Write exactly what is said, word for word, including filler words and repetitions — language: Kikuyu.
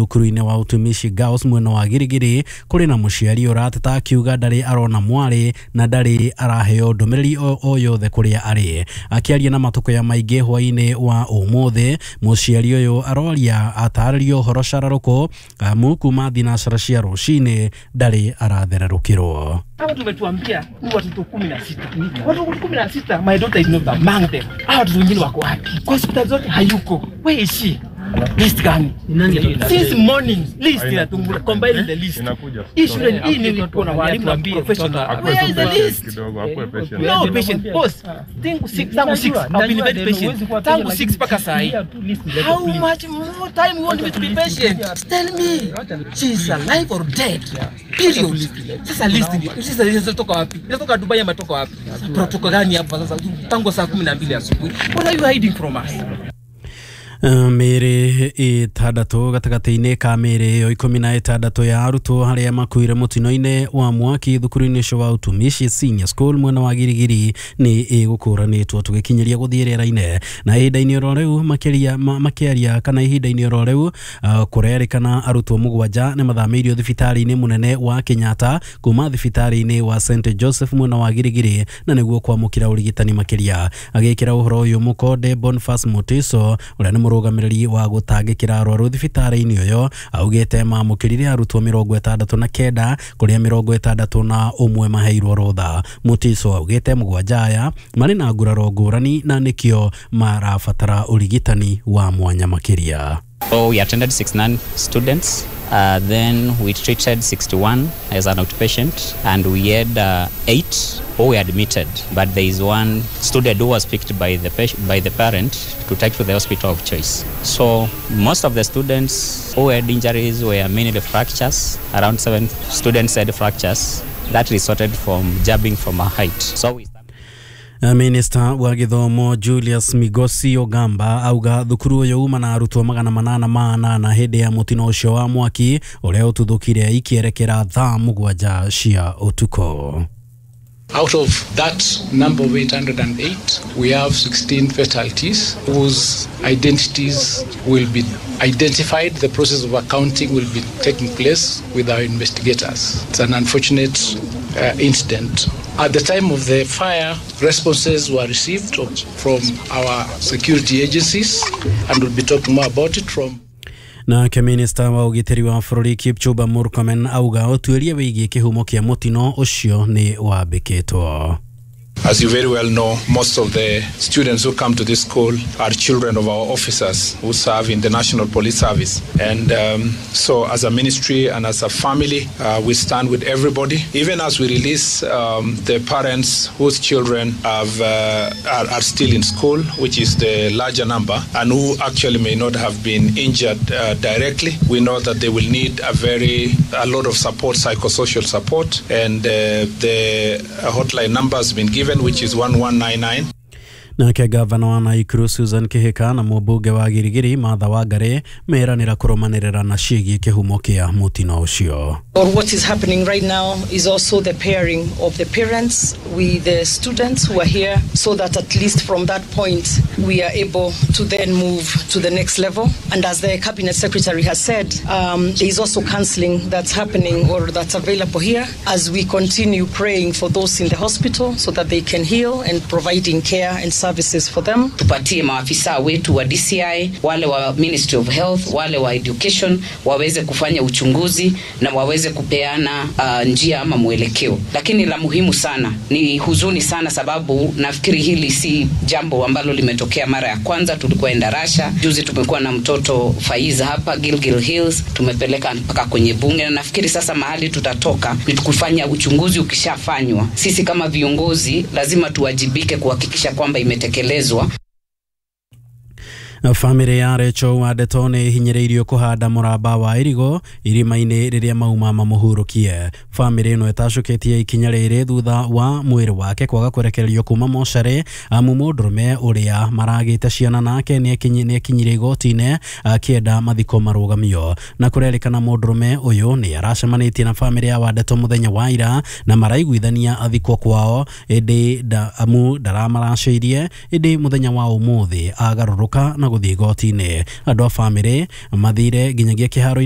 Thukuru-inĩ wa Utumishi Girls mwena wa Girigiri kũrĩ na mũciari ũrateta akiuga ndarĩ arona mwarĩ na ndarĩ araheo ndũmĩrĩri o, o yothe kũrĩa arĩ. Akĩaria na Matũkũya Maingĩ hwaĩ-inĩ wa ũmũthĩ, mũciari ũyũ aroria atarĩrio ũhoro cararũkũ amu kuma thinacara cia rũcinĩ ndarĩ arathererũkĩrwo. Hawa tumetuambia ni watoto kumi na sita. Watoto kumi na sita, my daughter is not among them. Hawa watoto wengine wako wapi? Kwa hospitali zote hayuko. Where is she? List gani? Since morning, list inatungula, combine the list. Hii shule hii ni kuna walimu na professional. Where is the list? No patient. Boss, tangu six, tangu six, I've been very patient. Tangu six mpaka saa hii. How much more time you want me to be patient? Tell me, she is alive or dead? Period. Sasa list ndio. Sasa list inatoka wapi? Inatoka Dubai ama inatoka wapi? Protocol gani hapa sasa? Tangu saa kumi na mbili asubuhi. What are you hiding from us? Mĩĩrĩ ĩtandatũ gatagatĩ-inĩ ka mĩĩrĩ ĩyo ikũmi na ĩtandatũ ya arutwo arĩa makuire mũtino-inĩ wa mwaki thukuru-inĩ ũcio wa Utumishi Senior School mwena wa Girigiri nĩ ĩgũkũranĩtwo tũgĩkinyĩria gũthiĩ rĩera-inĩ. Na ihinda-inĩ oro rĩu makĩria makĩaria kana ihinda-inĩ oro rĩu uh, kũrerĩkana arutwo mũgwanja nĩ mathamĩirio thibitarĩ-inĩ mũnene wa Kenyatta kuma thibitarĩ-inĩ wa Saint Joseph mwena wa Girigiri na nĩguo kwamũkĩra ũrigitani makĩria. Agĩkĩra ũhoro ũyũ mũkonde Boniface Mutiso ũrĩa nĩ mũrũgamĩrĩri wa gũtangĩkĩra arwaru thibitarĩ-inĩ ũyũ augĩte mamũkĩrire arutwo mĩrongo ĩtandatũ na kenda kũrĩa mĩrongo ĩtandatũ na ũmwe maheirwo rũtha. Mutiso augĩte mũgwanja aya marĩ na nguraro ngũrani na nĩkĩo marabatara ũrigitani wa mwanya makĩria. So we attended sixty-nine students, uh, then we treated sixty-one as an outpatient, and we had uh, eight who were admitted, but there is one student who was picked by the by the parent to take to the hospital of choice. So most of the students who had injuries were mainly fractures. Around seven students had fractures that resulted from jabbing from a height. So we Minista wa gĩthomo Julius Migosi Ogamba auga thukuru ũyũ uma na arutwo magana manana ma anana hĩndĩ ya mũtino ũcio wa mwaki ũrĩa ũtuthũkire ikĩerekera thaa mũgwanja cia ũtukũ. Out of that number of eight hundred and eight, we have sixteen fatalities whose identities will be identified. The process of accounting will be taking place with our investigators. It's an unfortunate uh, incident. At the time of the fire, responses were received from our security agencies, and we'll be talking more about it from. Nake minista wa ũgitĩri wa bũrũri Kipchumba Murkomen auga ũtuĩria wĩgiĩ kĩhumo kĩa mũtino ũcio nĩ wambĩkĩtwo. As you very well know, most of the students who come to this school are children of our officers who serve in the National Police Service. And um, so as a ministry and as a family, uh, we stand with everybody. Even as we release um, the parents whose children have, uh, are, are still in school, which is the larger number, and who actually may not have been injured uh, directly, we know that they will need a very, a lot of support, psychosocial support, and uh, the hotline number has been given, which is one one nine nine. Nake gavana wa Naikuru Susan Kihika na mũmbunge wa Girigiri Martha Wangari meranĩra kũrũmanĩrĩra na ciĩgiĩ kĩhumo kĩa mũtino ũcio. Or what is happening right now is also the pairing of the parents with the students who are here, so that at least from that point we are able to then move to the next level. And as the Cabinet Secretary has said, um, there is also counseling that's happening or that's available here as we continue praying for those in the hospital so that they can heal and providing care and services for them. Tupatie maafisa wetu wa D C I, wale wa Ministry of Health, wale wa Education waweze kufanya uchunguzi na waweze kupeana uh, njia ama mwelekeo. Lakini la muhimu sana ni huzuni sana, sababu nafikiri hili si jambo ambalo limetokea mara ya kwanza. Tulikuwa Endarasha juzi, tumekuwa na mtoto Faiza hapa Gilgil Hills, tumepeleka mpaka kwenye bunge, na nafikiri sasa mahali tutatoka ni kufanya uchunguzi. Ukishafanywa, sisi kama viongozi lazima tuwajibike kuhakikisha kwamba imetekelezwa. Famĩlĩ ya Rachel Wandeto nĩ ĩhinyĩrĩirio kũhanda mũramba wa irigo irima-inĩ rĩrĩa mauma mamũhurũkie. Famĩlĩ ĩno ĩtacũkĩtie ikinya rĩrĩ thutha wa mwĩrĩ wake kwaga kũrekererio kuma mocarĩ, amu mũndũrũme ũrĩa maragĩte ciana nake nĩ akinyire igoti-inĩ akĩenda mathiko marũgamio. Na kũrerĩkana mũndũrũme ũyũ nĩ aracemanĩtie na famĩlĩ ya Wandeto mũthenya wa ira na maraiguithania athikwo kwao, ĩndĩ amu ndaramaracĩirie, ĩndĩ mũthenya wa ũmũthĩ agarũrũka na gũthiĩ igoti-inĩ. Andũ a famĩlĩ mathire nginyagia kĩharo-inĩ.